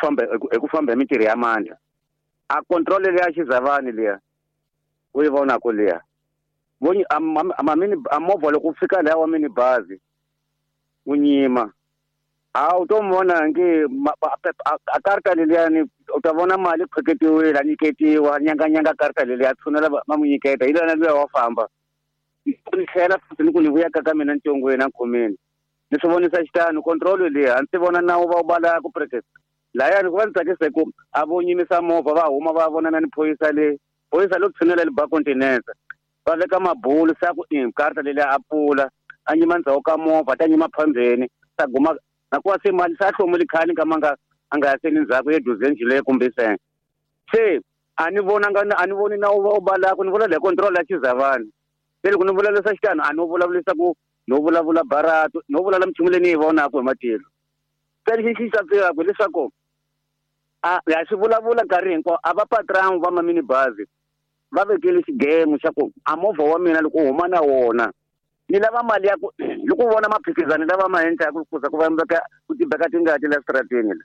famba hi ku famba hi mintirho ya mandla. A control leya Xizavani liya u yi vonaka liya vonyi a movha loko fika laha wa mini bazi wu nyima a u to vona nge a karta leliyani u ta vona mali khweketiwile a nyiketiwa nyanganyanga karta leliya tshunela va n'wi nyiketa hi lona luya wa famba ni tlhela futhi ni ku ni vuya ka mina ntsongweni a khomeni ni swi vonisa xitano control liya a ndzi vona nawu va wu balaka practice layani ku va ni tsakisa hi ku a vo nyimisa movha va huma va vonana ni phorisa le phorisa lo tshunela le ba continent va veka mabulu sa ku i karta leliya a pfula a nyima ndzhaku ka movha ta nyima phambeni ta guma nakuwa se mali sa hlomuli khale ka manga a nga ya seni ndzhaku ye duzenji leyi kumbe se se a ni vonanga a ni voni nawu va wu balaka ni vula le control ya Xizavani se loko ni vulavurisa xitano a no vulavurisa ku no vulavula barato no vulavula minchumu leyi ni yi vonaka hi matilo se lexi xi xavisaka leswaku a ya swi vulavula nkarhi hinkwawo a va patron va mamini bazi va vekele xigemu xa ku a movha wa mina loko u huma na wona ni lava mali ya ku loko u vona maphikizani lava ma endla ku kuza ku va ku tibeka tingati la stratini la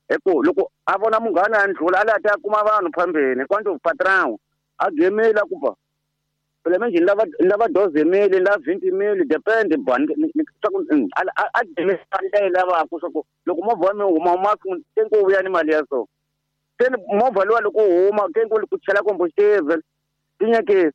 hi ku loko a vona munghana a ndlula a la ta kuma vanhu phambeni kwanto patron a gemela ku ba phela manje ni lava doze mili ni lava 20 mili depend bani swa ku a gemela mali leyi lavaka swa ku loko movha wa mina huma huma te ku vuya ni mali ya so se movha luwa loko u huma ke ku chela combustible tinyeke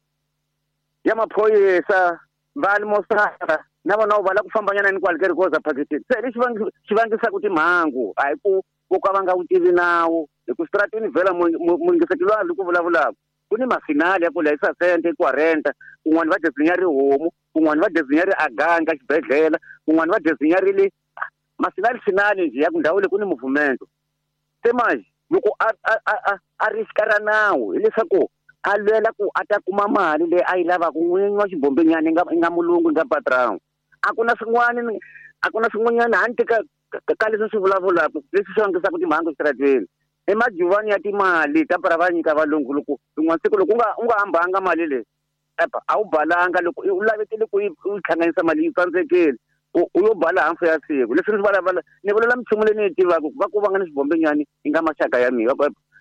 ya maphorisa va mosara na vona va lava ku fambanyana ni kwale ka rikoza phakitini se lexi xi vangisaka timhangu a hi ku vo ka va nga wu tivi nawu hi ku stratini vhela muyingiseti loyi a ku vulavulaka ku ni mafinali ya ku layisa sente ku renta kun'wana va dezinya ri homu kun'wana va dezinya ri aganga xibedhlele kun'wana va dezinya ri le mafinali finali njhe ya ku ndhawu leyi ku ni movement se manje loko a ri xikarhi nawu hileswaku a lwela ku a ta kuma mali leyi a yi lavaka n'winyi wa xibombenyana i nga mulungu nga patron a ku na swin'wana a ku na swin'wanyana handle ka leswi swi vulavulaka leswi swi vangisaka timhangu exitarateni i majuvani ya timali ta para va nyika valungu loko rin'wana siku loko u nga hambanga mali leyi epa a wu balanga loko u lavetile ku yi hlanganisa mali yi tsandzekile u yo bala hafu ya siku leswi ni vulavula ni vulavula minchumu leyi ni yi tivaka va ku va nga ni xibombenyani yi nga maxaka ya mina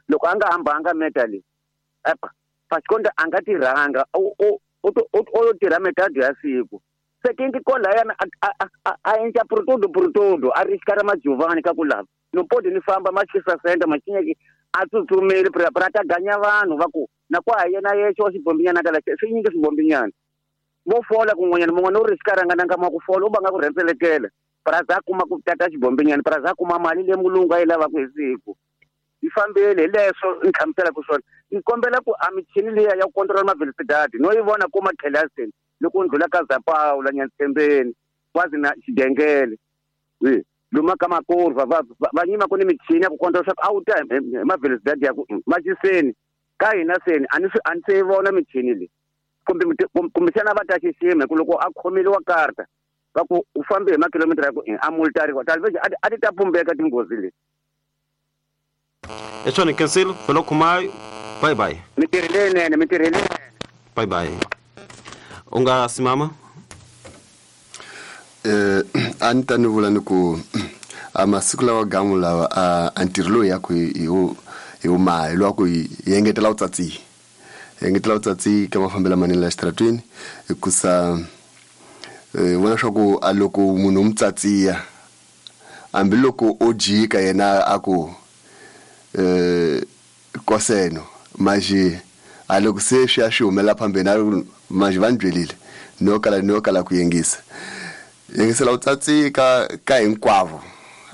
loko a nga hambanga meta leyi epa pasikonda a nga tirhanga o yo tirha metado ya siku se kingi kolayana a endla prutudu a ri xikarhi majuvani ka ku lava no podi ni famba machisa senda machinyeki a tsutsumeli pra ta ganya vanhu va ku na ku a yena yexe wa xibombinyana ka laxe swi nyingi swibombinyana vo fola kun'wanyana mun'wana u ri xikarhi nga nanga ma ku fola u va nga ku rhendzelekela praza a kuma ku tata xibombinyana praza a kuma mali leyi mulungu a yi lavaka hi siku yi fambile hi leswo ni hlamuselaka swona ni kombela ku a michini liya ya ku control mavelocidade no yi vona ku matlhelaseni loko ndlula ka Zapawula Nyantsembeni kwazi na Xidengele luma ka makurva va nyima ku ni michini ya ku control swa ku a wu ta hi mavelocidade ya ku maciseni ka hina seni a ni se yi vona michini leyi kumbexana va ta xixima hi ku loko a khomeliwa karta va ku u fambe hi makilomitara ya ku a multariwa talveji a ti ta pumbeka tinghozi leti. Etswana cancel felo khumayo bye bye mintirho leyinene mintirho leyinene bye bye u nga simama a ni ta ni vula ni ku a masiku lawa gamu lawa a ntirho lowu ya ku hi wu mahi lowa ku hi engetela vutsatsi hi ka mafambelo manene la xitaratweni hikusa vona swa ku a loko munhu u mu tsatsiya hambiloko o jika yena a ku koseno manje a loko se swi ya swi humela phambeni manje va ni byelile no kala ku yingisa yingisela u tsatsi ka hinkwavo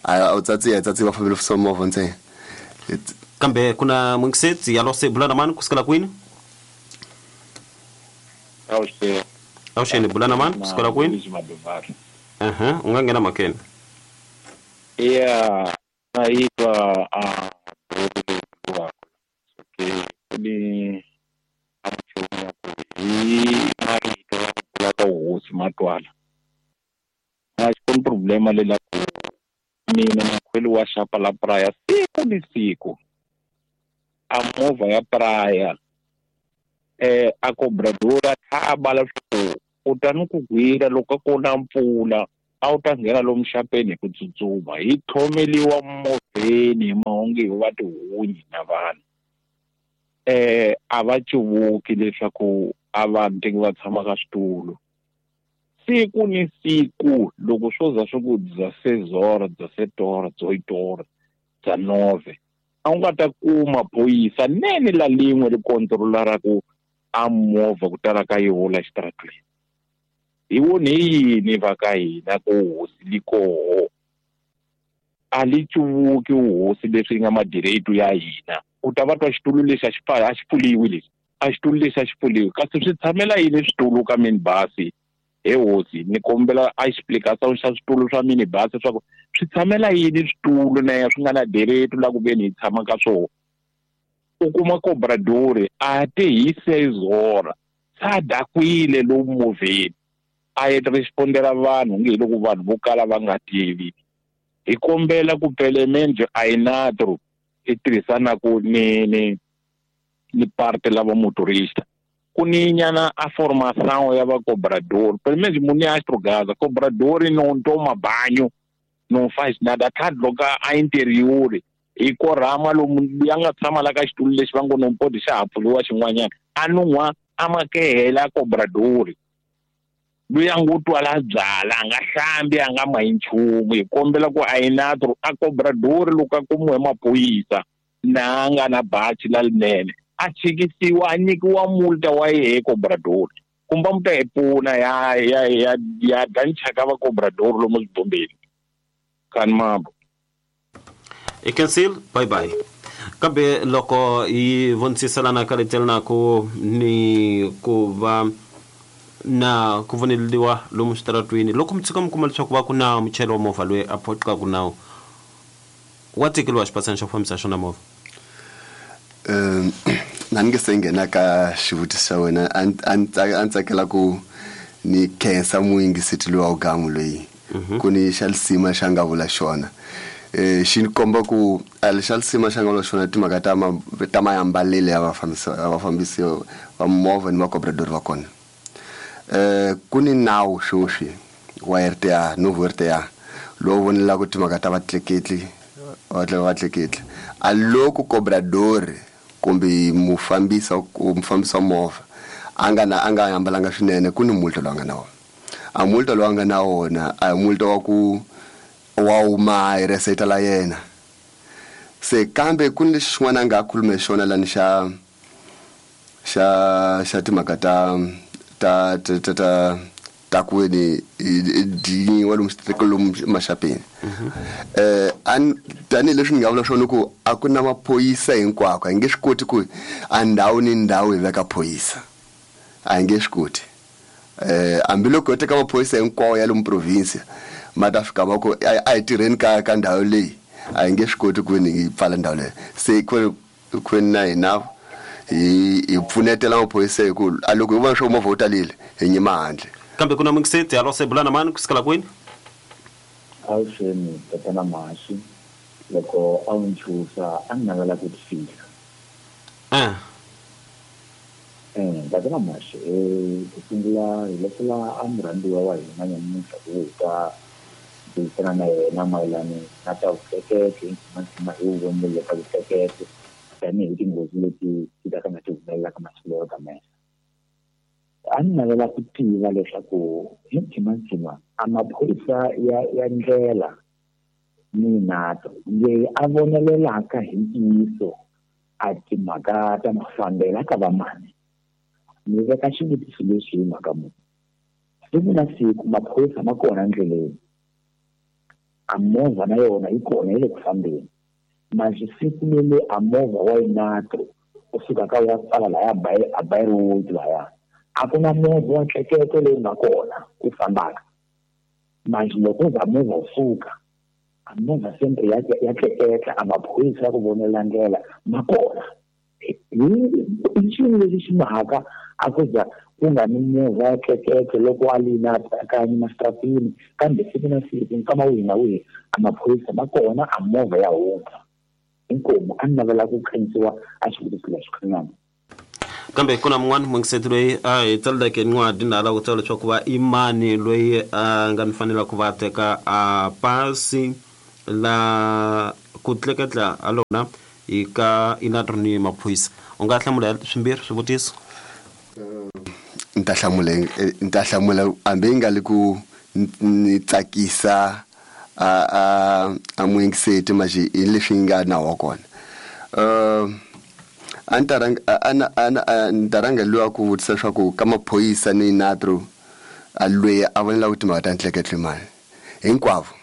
a u tsatsi a tsatsi va fambile swa movha ntsena kambe ku na mungisetsi ya lose bulana mani kusukela kwini awuxeni bulana mani kusukela kwini u nga nghena makeni ya naitwa ni amchumu ku hi marito ya ku vula ka hosi matwala a xi koni problema lela ku mina makhweli wa xapa la praya siku ni siku a movha ya praya a cobradora thaba leswaku u ta ni ku gwira loko ku na mpfula a wu ta nghena lomu xapeni hi ku tsutsuma hi tlhomeliwa movheni hi onge va tihunyi na vanhu. A va cuvuki leswaku a vanhu teki va tshama ka switulu. Siku ni siku loko swo za swi ku bya sezora, bya setora, byo itora, bya nove, a wu nga ta kuma phorisa nene la lin'we ri kontrola ku a movha ku tala ka yoho la xitaratweni. Hi vone yini va ka hina ku hosi li koho? A li cuvuki hosi leswi nga madireto ya hina. U ta va twa xitulu lexi a xi a xi pfuliwi lexi. A xitulu lexi a xi pfuliwi. Kasi swi tshamela yini switulu ka minibasi? He hosi, ni kombela a explication xa switulu swa minibasi leswaku swi tshamela yini switulu na swi nga na direto la ku veni hi tshama ka swona. U kuma cobradori a te hi sezora sa dakwile lomu movheni a yi respondela vanhu nge hi loko vanhu vo kala va nga tivi. Hi kombela ku pelemende a yi natro i tirhisanaku ni ni parte lava motorista. Ku ni nyana a formação ya va cobrador, pelo menos munhu ya astrogaza cobrador não toma banho, não faz nada, tá loka a interior hi korhama lomu ya nga tshama la ka xitulu lexi va ngo no podi xa ha pfuriwa xin'wanyana a nun'hwa a makehela cobrador loyi a ngo twala byala a nga hlambi a nga mahi nchumu. Hi kombela ku a yi natro a cobrador loko a kumiwe maphorisa na a nga na bachi la linene a chikisiwa a nyikiwa multa wa yehe cobrador kumbe mu ta hi pfuna ya ya ya ya danchaka va cobrador lomu swibombeni kani mambo. I cancel bye bye. Kambe loko hi vonisiselana ka letela ku ni ku va na ku voneliwa lomu switaratwini loko mi tshuka mi kuma leswaku va ku na muchayeri wa movha loyi a phoqaku nawu wa tekeriwa xiphatsana xo fambisa xona movha. Na ni nge se nghena ka xivutiso xa wena a ni tsakela ku ni khensa muyingiseti loyi wa wugamu loyi ku ni xa lisima xa nga vula xona. Xi ni komba ku a xa lisima xa nga vula xona timhaka ta mayambalele ya vafambisi va movha ni vakobradori va kona. Ku ni nawu sweswi wa RTA novo RTA lowu vonelaka timhaka ta vatleketli vatleketli a loko cobrador kumbe mufambisi wa movha a nga ambalanga swinene ku ni multa lowu a nga na wona. A multa lowu a nga na wona a hi multa wa ku wa huma hi reseta la yena. Se kambe ku ni lexi xin'wana a nga khulume xona lani xa xa xa timhaka ta ta ta ta ta ku ni dinyiwa lomu lomu maxapeni. Tanihileswi ni nga vula swona ku a ku na maphorisa hinkwako, a hi nge swi koti ku a ndhawu ni ndhawu hi veka phorisa, a hi nge swi koti. Hambiloko ho teka maphorisa hinkwawo ya lomu province ma ta fika va ku a hi tirheni ka ndhawu leyi, a hi nge swi koti ku ni hi pfala ndhawu leyi. Se ku na hina hi pfunetela maphorisa hi ku a loko hi vona swo movha wu talile hi nyima handle. Kambe ku na muyingiseti alo se bulana mani ku sukela kwini? Avuxeni tatana Mhaxi, loko a wu nchusa a ni navela ku tifihla. Tatana Mhaxi, ku sungula hi lesela a murhandziwa wa hina nyamuntlha ku hi ta burisana na yena mayelana na ta vutleketli, hi hi wu vonile ta vutleketli tanihi tinghozi leti ti ta ka nga ti humelelaka masiku lawa ka mehla. A ni navela ku tiva leswaku hi mphimantsima a maphorisa ya ndlela ni nato leyi a vonelelaka hi ntiyiso a timhaka ta mafambelo ka vamani. Ni veka xivutiso lexi hi mhaka muni. Siku na siku maphorisa ma kona endleleni, a movha na yona yi kona yi le ku fambeni. Manje siku leli a movha wa inato u suka ka ya pfala laya a Byroad laya a ku na movha wa ntleketlo leyi nga kona ku fambaka. Manje loko za movha wu suka a movha sempre ya tleketla a maphorisa ya ku vonela ndlela ma kona. Hi xilo lexi xi mhaka a ku za ku nga ni movha ya tleketlo loko a li na kanye masitratini, kambe siku na siku nkama wihi na wihi a maphorisa ma kona a movha ya hundza. Inkomu a ni navela ku khensiwa a xivutiso lexi khanyana. Kambe ku na mun'wana muyingiseti loyi a hi tsaleleke ncwadi na lava ku tsala leswaku va i mani loyi a nga ni fanela ku va teka a pasi La ku tleketla a lona hi ka inatro ni maphorisa. U nga hlamula swimbirhi swivutiso? Ni ta hlamula, ni ta hlamula hambi yi nga le ku ni tsakisa a muyingiseti, maxi hi leswi nga nawu wa kona. A ni ta rhanga a ni ta rhanga luya ku vutisa leswaku ka maphorisa ni natro a lweyi a vonela ku timhaka ta ntleketlo mali hinkwavo,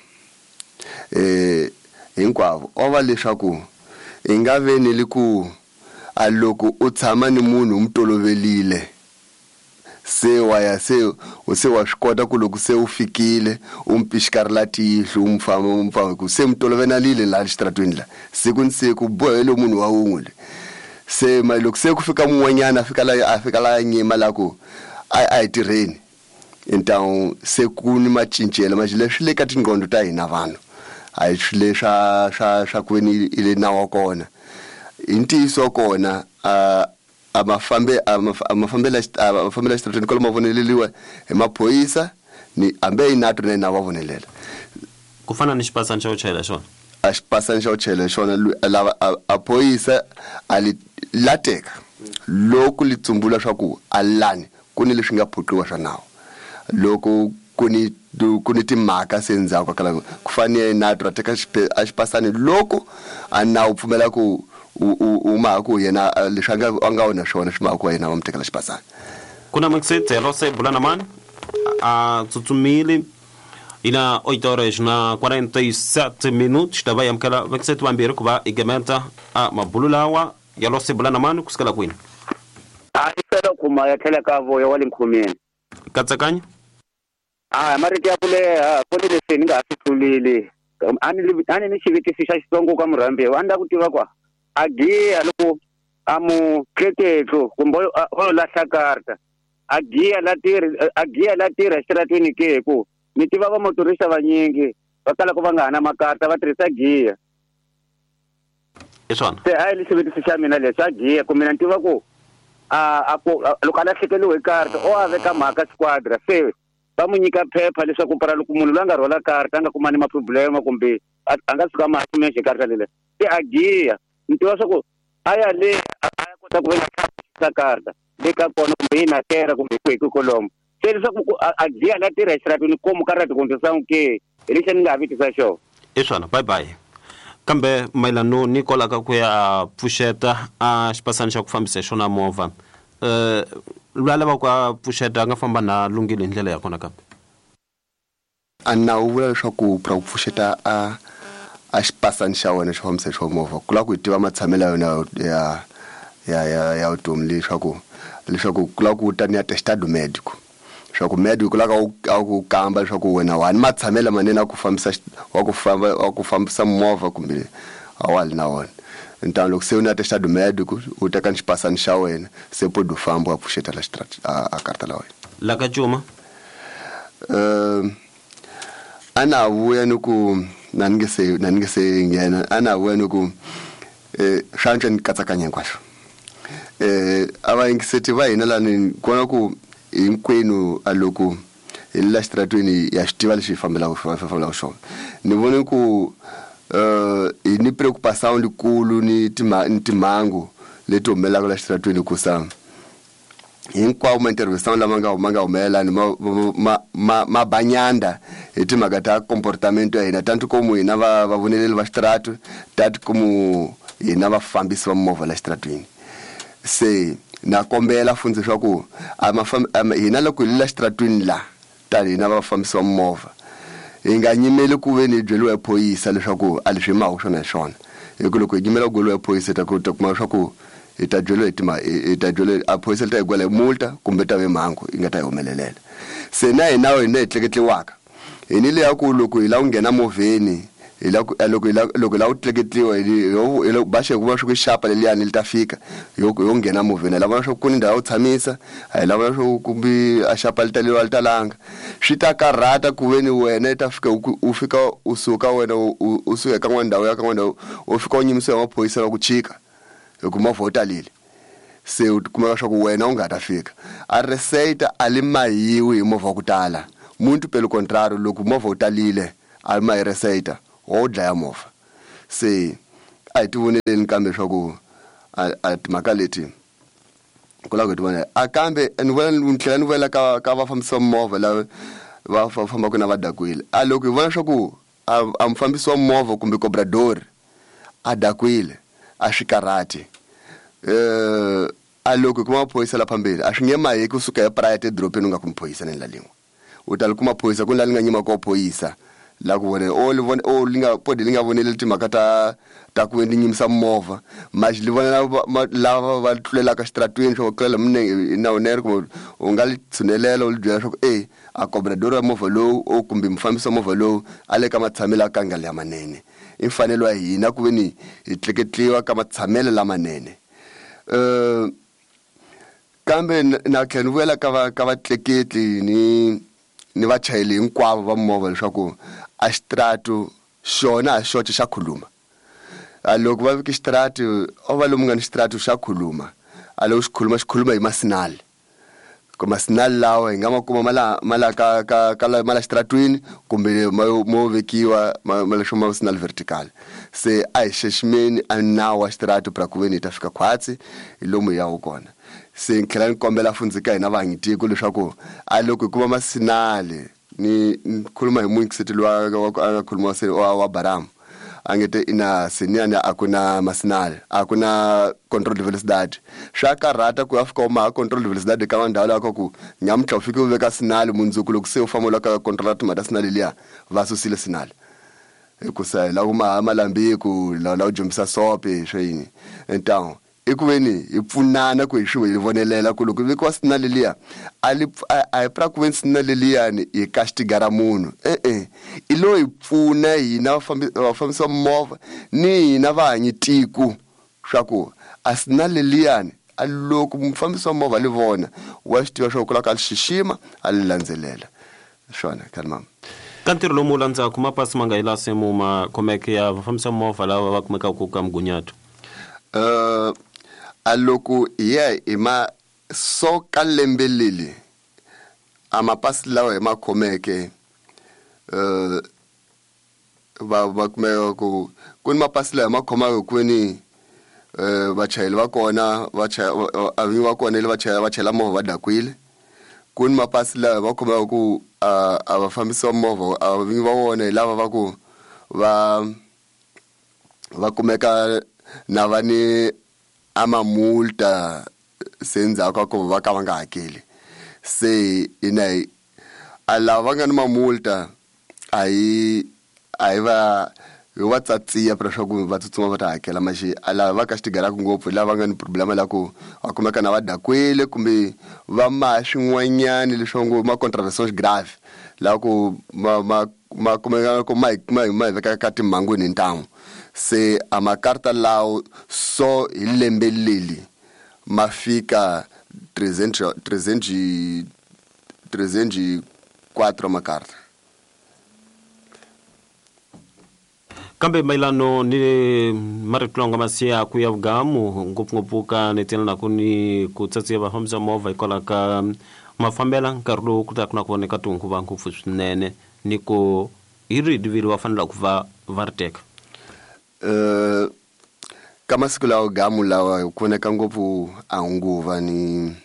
hinkwavo o va leswaku i nga ve ni li ku a loko u tshama ni munhu u mu tolovelile, se wa ya se wa swi kota ku loko se u fikile u mu pixikarela tihlo, u mu famba, u mu famba ku se mu tolovenalile laha xitaratweni la siku ni siku, bohele munhu wa wun'we le. Se ma loko se ku fika mun'wanyana a fika la nyima la ku a hi tirheni ntawu, se ku ni macincelo ma leswi le ka tinqondo ta hina vanhu, a hi swilo swa ku ve ni i le nawu wa kona. Hi ntiyiso wa kona, a mafambela xitaratweni kwalomu ma voneleliwa hi maphorisa ni hambi hi natro na hina va vonelela. Ku fana ni xipasani xa ku chayela xona? A xipasani xa ku chayela xona, lava a phorisa a li lateka loko li tsumbula swa ku a lani ku ni leswi nga phuqiwa swa nawu, loko ku ni timhaka se ndzhaku ka ku fanele natro a teka a xipasani loko a nawu pfumela ku u maha ku yena leswi a nga wona swona swi maha ku yena va mu tekela xipasani. Ku na mixit se bula na mani a tsutsumile ina 8 horas na 47 minutos, ta va amukela vaxeti vambirhi ku va i gemeta a mabulu lawa ya lose bula na mani kusukela kwini? A i fela kuma ya tlhela ka voya wa le nkhumeni. Katsakanya. A marito ya ku leha ku ni leswi ni nga ha swi tluleli, a ni ni xivutiso xa xitsongo ka murhambiwa. A ni lava ku tiva kwa a giya loko a mu tleketlo kumbe o lahla karta, a giya la tirhi, a giya la tirha exitaratweni ke? Ku ni tiva va motorista vanyingi va kala ku va nga ha na makarta, va tirhisa giya. Hi swona. Se a hi xivutiso xa mina lexi, a giya ku mina ni tiva ku a ku loko a lahlekeliwe hi karta, o a veka mhaka squadra, se va mu nyika phepha leswaku para loko munhu loyi a nga rhwala karta a nga kumani maproblema kumbe a nga suka ma kume karta lele, se a giya ni tiva swa ku a ya le a ya kota ku veka karta le ka kona kumbe yi nakera kumbe kwihi kolomo, se leswaku a giya la tirha exitaratweni komu karata kumbe sangu ke? Hi lexi ni nga ha vitisa xona. Hi swona, bye bye. Kambe mayelano ni kolaka ku ya pfuxeta a xipasani xa ku fambisa hi xona movha, loyi a lavaka ku a pfuxeta a nga famba na lunghile hi ndlela ya kona kambe? A nawu vula leswaku pra ku pfuxeta a xipasani xa wena xo fambisa hi xo movha, ku lava ku hi tiva matshamelo ya wena ya vutomi, leswaku ku lava ku ta ni atestado médico, leswaku médico la ka a ku kamba leswaku wena wa ni matshamelo manene a ku fambisa wa ku famba wa ku fambisa movha kumbe a wa li na wona. Ntano loko se u ni atestado médico, u teka ni xipasani xa wena, se podi u famba wa pfuxeta la xitrati a karta la wena. La ka cuma. A na vuya ni ku na ni nge se nghena, a na vuya ni ku swa antswa ni katsakanya hinkwaswo. A va yingiseti va hina lani kona ku hinkwenu a loko hi le la xitaratweni ya swi tiva leswi hi fambelaka xona. Ni vone ku hi ni preocupação likulu ni timhangu leti humelelaka la xitaratweni, ku sa hinkwawo ma-intervention lama nga humelela ni ma banyanda hi timhaka ta comportamento ya hina, tanti komu hina va vavoneleli va xitaratu, tati komu hina vafambisi va movha la xitaratwini. Se na kombela fundzi leswaku hina loko hi le la xitaratwini la tani hina vafambisi va movha, hi nga nyimeli ku ve ni hi byeliwa hi phorisa leswaku a leswi hi mahaku swona hi swona, hi ku loko hi nyimela ku gweliwa hi phorisa, hi ta kuma leswaku hi ta byeliwa hi tima hi ta byeliwa a phorisa li ta hi gwela hi multa kumbe ta ve mhangu yi nga ta hi humelelela. Se na hina hina hi tleketliwaka hi ni leya ku loko hi lava ku nghena movheni, hi la ku loko hi lava ku tleketliwa, hi lo baxe ku va swi ku xapa leliyani li ta fika yo nghena movheni. Hi lava leswaku ku ni ndhawu yo tshamisa, a hi lava leswaku kumbe a xapa li taleliwa li talanga, swi ta karhata ku ve ni wena i ta fika u fika u suka wena u suka eka n'wana ndhawu ya ka n'wana ndhawu, u fika u nyimisiwa hi maphorisa va ku chika hi ku movha wu talile, se u kumeka swa ku wena u nga ta fika a receita a li mahiwi hi movha wa ku tala. Muito pelo contrário, loko movha wu talile a li mahi receita. Wa wu dlaya movha. Se a hi ti voneleni kambe swa ku a timhaka leti ku lava ku hi ti vonela. A kambe ni vona ni tlhela ni vuyela ka vafambisi va movha lava va fambaka na va dakwile. A loko hi vona swa ku a mufambisi wa movha kumbe cobrador a dakwile a swi karhati. A loko hi kuma maphorisa la phambili a swi nge maheki kusuka hi private edorobeni u nga kumi phorisa ni la lin'we. U ta li kuma phorisa ku ni la li nga nyima ko phorisa la ku vone o li vone o li nga podi li nga voneli timhaka ta ku li nyimisa movha maxi li vona lava va tlulelaka xitaratweni swa ku tlulela minenge hi nawu nere kumbe u nga li tshunelela u li byela swa ku e a cobrador wa movha lowu o kumbe mufambisi wa movha lowu a le ka matshamelo a ka nga lamanene. I mfanelo wa hina ku ve ni hi tleketliwa ka matshamelo lamanene. Kambe na tlhela ni vuyela ka vatleketli ni vachayeri hinkwavo va movha leswaku a xitaratu xona a xoxe xa khuluma. A loko va veke xitaratu o va lomu nga ni xitaratu xa khuluma. A loko xi khuluma xi khuluma hi masinali. Ku masinali lawa hi nga ma kuma ma la ka, ka, ka la, ma la xitaratwini kumbe mo vekiwa ma leswo ma sinali vertical. Se a hi xiximeni a nawu wa xitaratu pra ku ve ni hi ta fika khwatsi hi lomu hi yaku kona. Se ni tlhela ni kombela fundzi ka hina vahanyitiko leswaku a loko hi kuma masinali ni khuluma hi muyingiseti loyi a nga khuluma se wa Baramu. A nge te ina seniyani a ku na masinali, a ku na control velocidade. Swa karhata ku ya fika u maha control velocidade ka ndhawu laha ka ku nyamuntlha u fike u veka sinali mundzuku loko se u famba u lava ka controla timhaka ta sinali liya va susile sinali. Hikusa hi lava ku maha malambiku, lava ku jombisa sope swa yini. Ntamu i ku ve ni hi pfunana ku hi swi hi vonelela ku loko vekiwa sinali liya a li a hi pra ku ve ni sinali liyani hi castigara munhu. E-e, i lo hi pfuna hina vafambisi va movha ni hina vahanyi tiko swa ku a sinali liyani a loko mufambisi wa movha li vona wa swi tiva swa ku lava ka li xixima a li landzelela. Swona khale mama. Ka ntirho lomu wu landzaku mapasi ma nga yi la se mu ma khomeke ya vafambisi va movha lava va kumekaka ka mugunyato. A loko hi ya hi ma so ka lembe leli a mapasi lawa hi ma khomeke va kumeka ku ni mapasi lawa hi ma khomaka ku ve ni vachayeri va kona a vinyi va kona le va chayela movha va dakwile. Ku ni mapasi lawa hi ma khomaka ku a vafambisi va movha a vinyi va wona hi lava va ku va kumeka na va ni a mamulta se ndzhaku ka ku va ka va nga hakeli. Se hina hi a lava va nga ni mamulta a hi a hi va hi va tsatsiya pra swa ku va tsutsuma va ta hakela maxi a lava va castigaraka ngopfu lava nga ni problema la ku va kumeka na va dakwile kumbe va maha swin'wanyani leswi ngo ma contraventions grave la ku ma kumeka ku ma hi veka ka timhangwini hi ntamu. Se a makarta lawo so hi lembe leli ma fika 304 makarta. Kambe mayelano ni marito lawa nga masiyaku ya vugamu ngopfungopfu ka ni ku ni ku tsatsiya vafambisi va movha hikwalaho ka mafambela nkarhi lowu ku taka na ku voneka tinguva ngopfu swinene ni ku hi rihi rivilo va fanelaka ku va va ri teka. Ka masiku lawa gamu lawa ku voneka ngopfu a nguva ni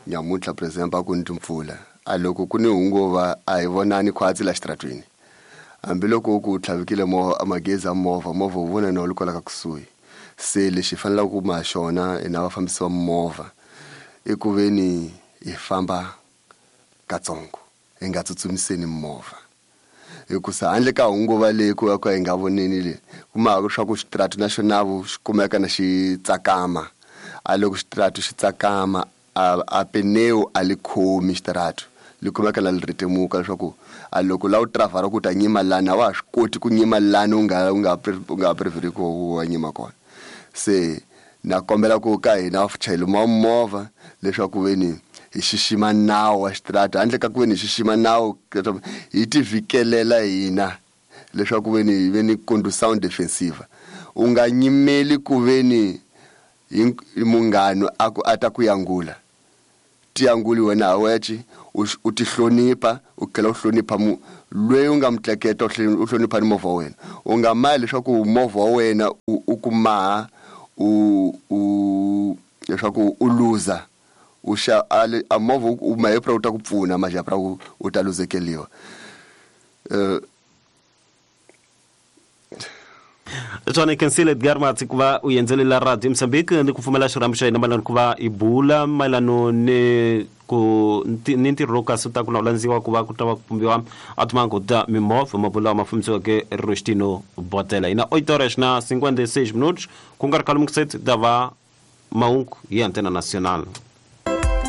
nyamuntlha for example a ku ni timpfula. A loko ku ni hunguva a hi vonani khwatsi la xitaratwini. Hambiloko ku tlhavikile magezi ya movha, movha wu vona na wu ri kwala ka kusuhi. Se lexi hi fanelaka ku ma xona hina vafambisi va movha i ku ve ni hi famba katsongo, hi nga tsutsumiseni movha. Hikusa handle ka hunguva leyi ku va ka hi nga voneni le, kuma swa ku xitaratu na xona xi kumeka na xi tsakama. A loko xitaratu xi tsakama a pneu a li khomi xitaratu, li kumeka na li rhetemuka leswaku a loko la u driver ku ta nyima lani a wa ha swi koti ku nyima lani u nga preferi ku wa nyima kona. Se na kombela ku ka hina vachayeri va movha leswaku ve ni hi xixima nawu wa xitaratu, handle ka ku ve ni hi xixima nawu hi ti vhikelela hina leswaku ve ni hi ve ni condução defensiva. U nga nyimeli ku ve ni hi munghano a ku a ta ku yangula. Ti yanguli wena ha wexe, u ti hlonipha, u tlhela u hlonipha Loyi u nga mutleketa u hlonipha ni movha wa wena. U nga mahi leswaku movha wa wena u ku maha u u leswaku u luza u xa a movha u mahepra u ta ku pfuna majapra u ta luzekeliwa. Tswana kensile Edgar Matsi ku va u endzelela Radio Mozambique ni ku pfumela xirhambo xa hina mayelana ku va hi bula mayelano ni ku ni ntirho lowu kasi u ta ku na u landziwa ku va ku ta va ku pumbiwa a timango ta mimovha mabulo lawa ma fambisiweke Rostino Botela. Hina 8 horas na 56 minutos ku nga ri khale mukuseti ta va mahungu hi Antena Nacional.